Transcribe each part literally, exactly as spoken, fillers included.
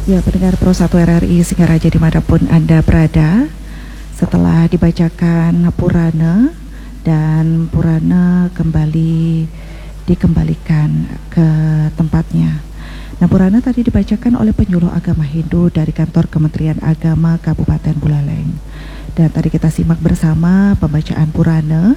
Ya, pendengar Pro satu R R I Singaraja dimanapun Anda berada, setelah dibacakan Purana dan Purana kembali dikembalikan ke tempatnya. Nah, Purana tadi dibacakan oleh penyuluh agama Hindu dari kantor Kementerian Agama Kabupaten Buleleng. Dan tadi kita simak bersama pembacaan Purana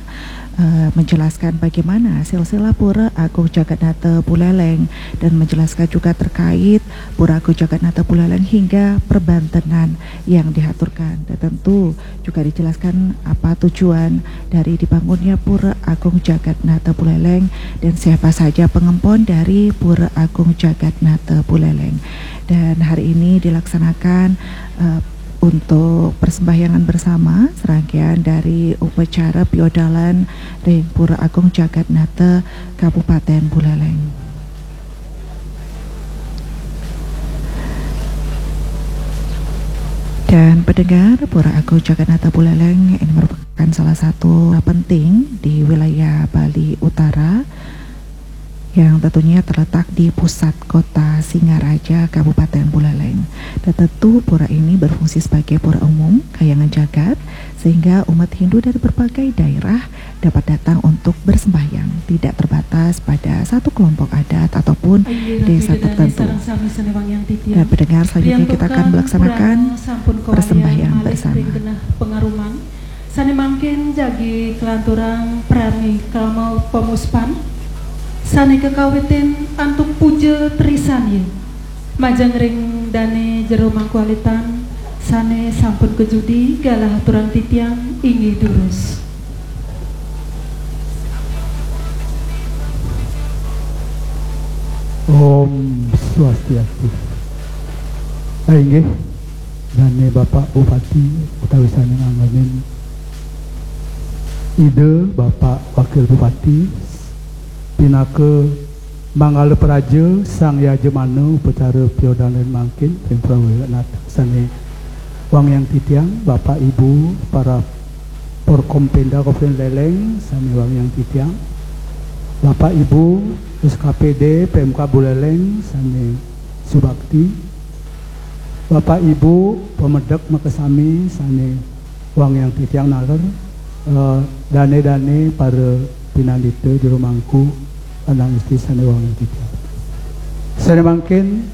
eh, menjelaskan bagaimana silsilah Pura Agung Jagannatha Buleleng dan menjelaskan juga terkait Pura Agung Jagannatha Buleleng hingga perbantenan yang dihaturkan. Dan tentu juga dijelaskan apa tujuan dari dibangunnya Pura Agung Jagannatha Buleleng dan siapa saja pengempon dari Pura Agung Jagannatha Buleleng. Dan hari ini dilaksanakan eh, untuk persembahyangan bersama serangkaian dari upacara piodalan ring Pura Agung Jagannatha Kabupaten Buleleng. Dan pendengar, Pura Agung Jagannatha Buleleng ini merupakan salah satu penting di wilayah Bali Utara yang tentunya terletak di pusat kota Singaraja, Kabupaten Buleleng. Dan tentu pura ini berfungsi sebagai pura umum, kayangan jagat, sehingga umat Hindu dari berbagai daerah dapat datang untuk bersembahyang, tidak terbatas pada satu kelompok adat ataupun desa tertentu. Dan pendengar, selanjutnya kita akan melaksanakan persembahyangan bersama. Sane mangkin jagi kelanturang prami kalmo pemuspan, sane kekawitin antuk puja trisanya, majeng ring dane jero mangkualitan, sane sampun kejudi galah aturang titiang inggih durus. Om Swastiastu. Ah, inggih, dane Bapak Bupati utawi sane nganggenin Ida Bapak Wakil Bupati pinaka manggala praja sang yajamana upacara piodalan mangkin ring prawijaya nata sane wangiang titiang, Bapak Ibu para Porkompinda Kabupaten Buleleng sane wangiang titiang, Bapak Ibu S K P D P M K Buleleng sane subakti, Bapak Ibu pamedek makasami sane wangiang titiang naler, eh, dane-dane para pinandita jero mangku anang isti sane wangiang titiang. Sane mangkin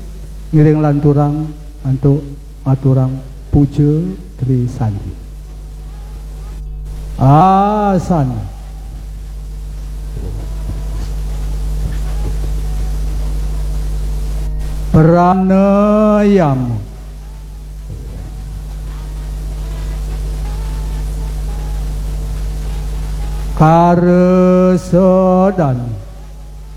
ngiring lanturang antuk aturang puja trisandi. Asana. Pranayama. Karesodan.